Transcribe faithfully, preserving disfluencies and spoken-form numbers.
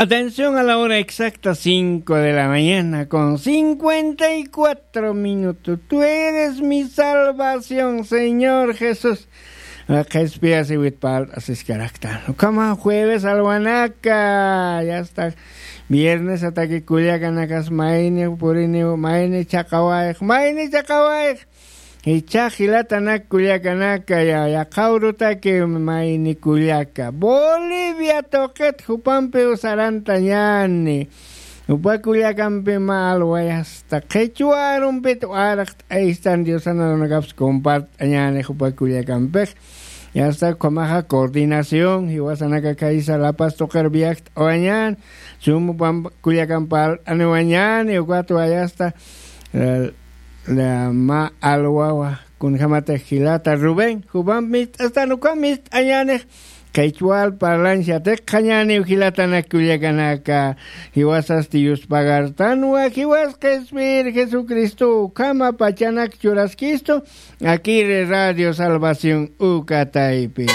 Atención a la hora exacta, cinco de la mañana con cincuenta y cuatro minutos. Tú eres mi salvación, Señor Jesús. Qhispiyasiwit pal asiskaraktan. Ukhama jueves alwanaka, ya está. Viernes ataki kullakanakas mayni purini, mayni chaqawayx, mayni chaqawayx. Ichha jilatanak kullakanaka, ya, yaqha urutaki mayni kullaka Bolivia tuqit jupampiw sarantañäni. Jupa kullakampi mä alway asta qhichwa arumpit warqt'aystan, Diosan arunakaps compart'añäni jupa kullakampix. Yasta ukhamaxa coordinación jiwasanaka khaysa La Paz tuqir viajt'awañän, sum jupa kullakamp parlt'aniwañäni, ukatwa yasta, eh, la mä alwawa, kunjämatix jilata Rubén, jupamp mist'astan, ukham mist'añänix, qhichwal parlanchati qhañäniw jilatanak kullakanaka, jiwasasti yuspagartanwa, jiwas qhispiyir Jesucristo ukhama pachanak churaskistu, akiri Radio Salvación uka taypi.